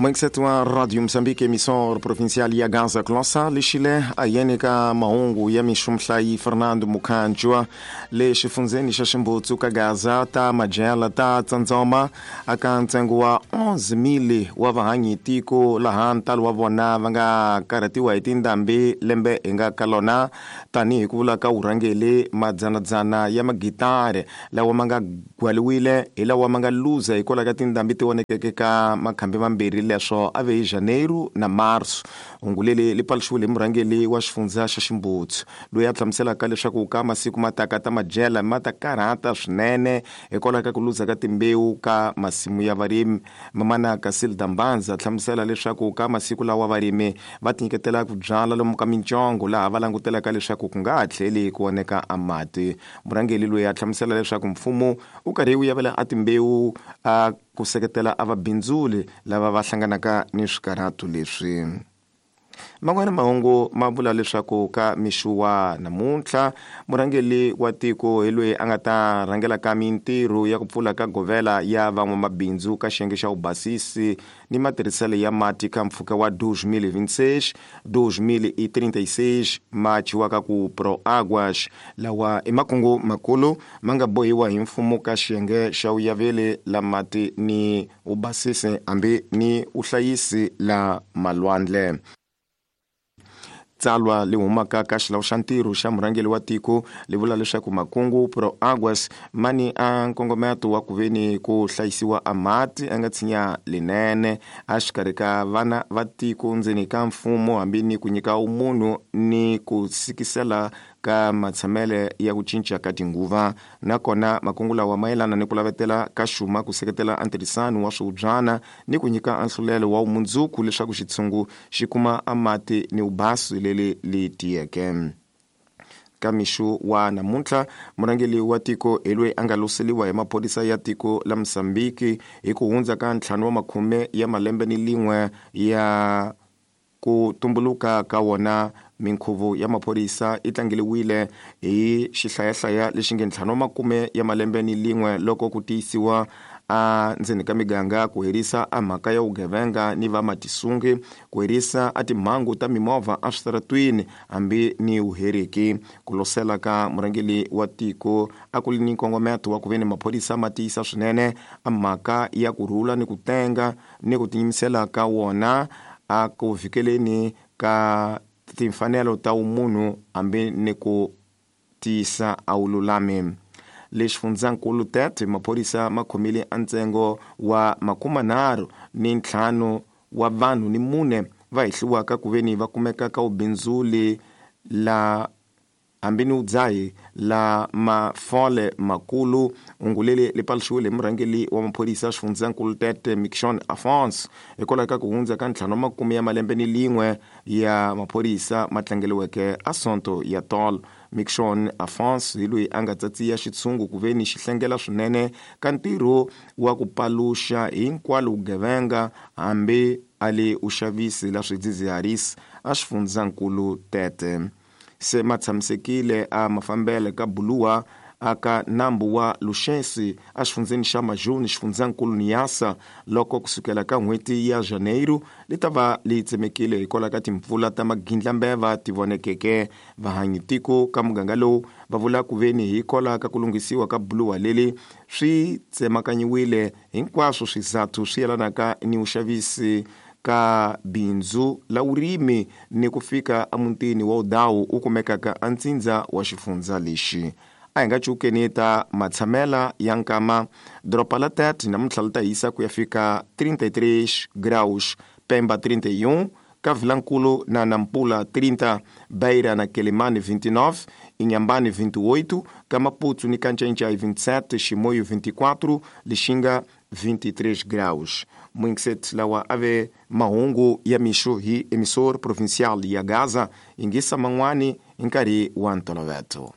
Moingiseti wa Radio Mozambique, emissor provincial ya Gaza Glossa lexile ayeni ka mahungu ya mixumhlayi Fernando Mukhanjwa. Le xifundzeni xa Ximbutsu ka Gaza ta majela ta tsandzoma aka ntsengo wa 11,000 wa vahanyi tiko, laha ntalo wa vona va nga karhatiwa hi tindhambi lembe hi nga ka lona, tanihi ku vula ka vurhangeli. Madzanadzana ya magitari lawa ma nga gwaliwile hi lawa ma nga luza hikwalaho ka tindhambi ti vonekeke ka makhambi mambirhi, leswo a ve hi Janeiro na Marso. Hungu leri li paluxiwile hi murhangeli wa xifundza xa Ximbutsu, loyi a hlamuselaka leswaku ka masiku ma taka ta madyela ma ta karhata swinene hikwalaho ka ku luza ka timbewu ka masimu ya varimi. Mamana Casilda Mbanza hlamusela leswaku ka masiku lawa varimi va tinyiketela ku byala lomu ka mincongo, laha va langutelaka leswaku ku nga ha tlheli ku oneka a mati. Murhangeli loyi a hlamusela leswaku mfumo wu karhi wu yavela a timbewu a ku seketela a vabindzuli lava va hlanganaka ni swikarhato leswi. Man'wana mahungu ma vula leswaku ka mixo wa namuntlha murhangeli wa tiko hi loyi a nga ta rhangela ka mintirho ya ku pfula ka govela ya van'wamabindzu ka xiyenge xa vubasisi ni matirhiselo ya mati ka mpfhuka wa 2026 2036, ma chiwaka ku Pro Aguas. Lawa i makungu makulu ma nga bohiwa hi mfumo ka xiyenge xa vuyaveli la mati ni vubasisi hambi ni vuhlayisi la malwandle. Tsalwa li humaka ka xilawu xa ntirho xa murhangeli wa tiko li vula leswaku makungu Pro Aguas ma ni a nkongometo wa ku veni ku hlayisiwa a mati a nga tshinya linene a xikarhi ka vana va tiko ndzeni ka mfumo, hambi ni ku nyika umunhu ni ku sikisela ka matshamele ya ku cinca ka tinguva. Nakona makungu lawa mayelana ni ku lavetela ka xuma ku seketela a ntirhisano wa swivubyana ni ku nyika anhlulelo wa vumundzuku leswaku xitshungu xi kuma a mati ni vubasi leri li tiyeke. Ka mixo wa namuntlha murhangeli wa tiko hi loyi a nga loseliwa hi maphorisa ya tiko la Mozambique hi ku hundza ka 50 ya malembe ni lin'we ya ku tumbuluka ka wona. Minkhuvo ya maphorisa yi tlangeliwile hi xihlayahlaya lexi nge 50 ya malembe ni lin'we loko ku tiyisiwa a ndzeni ka miganga ku herisa a mhaka ya vugevenga ni vamatisungi, ku herisa a timhangu ta mimovha eswitaratwini hambi ni vuheriki. Ku losela ka murhangeli wa tiko a ku li ni nkongometo wa ku ve ni maphorisa ma tiyisa swinene a mhaka ya ku rhula ni ku tenga ni ku tiyimisela ka wona a ku vhikeleni ka timfanelo ta vumunhu hambi ni ku tiyisa a vululami. Le xifundzankulu Tete, maphorisa ma khomile a ntsengo wa 35 wa vanhu ni 4 va hehliwaka ku veni va kumeka ka vubindzuli la hambi ni vudzahi la mafole makulu. Hungu leri li paluxiwile hi murhangeli wa maphorisa xifundzankulu Tete, Mickson Afonso, hikwalaho ka ku hundza ka 50 ya malembe ni lin'we ya maphorisa ma tlangeliweke a Sonto ya tolo. Mickson Afonso hi loyi a nga tsatsiya xitshungu ku veni xi hlengela swinene ka ntirho wa ku paluxa hinkwalo vugevenga hambi a le uxavisi la swidzidziharisi a xifundzankulu Tete. Se ma tshamisekile a mafambele ka buluwa aka nambu wa Luxensi a xifundzeni xa Majuni xifundzankulu Niassa, loko kusukela ka n'hweti ya Janeiro li ta va li tsemekile hikwalaho ka timpfula ta magindlambeva ti vonekeke. Vahanyi tiko ka muganga lowu va vula ku veni hikwalaho ka ku lunghisiwa ka buluwa leri swi tsemakanyiwile hinkwaswo swizathu swi yelanaka ni vuxavisi ka bindzu la vurimi ni ku fika emutini wa Udawu u kumekaka entsindza wa xifundza lexi. A hi nga cukeni ta matshamela ya nkama. Doroba la Tete namuntlha li ta hisa ku ya fika 33 graus, Pemba 31, ka Vilankulu na Nampula 30, Beira na Quelimane 29, Inhambane 28, ka Maputo ni Kancencai 27, Chimoio 24, Lixinga 23 graus. Mwingiset lawa ave mahungu ya mixo hi emissor provincial ya Gaza, ingisa man'wani hi nkarhi wa ntoloveto.